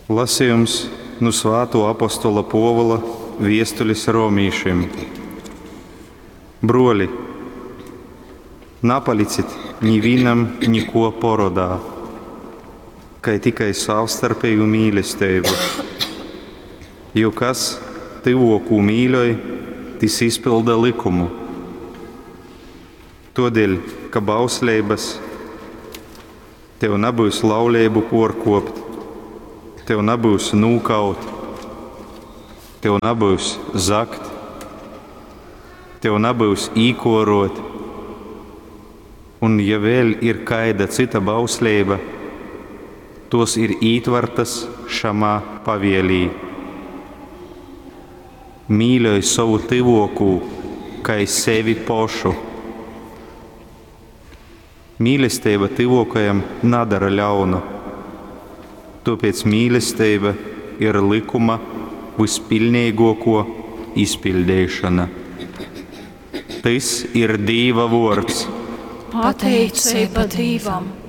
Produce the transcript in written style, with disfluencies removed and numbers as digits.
Lasījums nu Svātuo apostola Puovula viestulis romīšim. Bruoli, napalicit nivīnam nikuo porodā, kai tikai savstarpeju mīlesteibu. Jo kas tyvuokū mīļoj, tys izpylda lykumu. Tuodeļ, ka bausleibys tev nabyus lauleibu puorkuopt, tev nabyus nūkaut, tev nabyus zagt, tev nabyus īkuoruot, un ja vēļ ir kaida cyta bausleiba, tuos ir ītvartas šamā pavielī. Mīļoj sovu tyvuokū kai sevi pošu. Mīlesteiba tyvuokajam nadara ļaunu, tuopēc mīlesteiba ir lykuma vyspiļneiguokuo izpiļdeišona. Tys ir Dīva vuords. Pateiceiba Dīvam!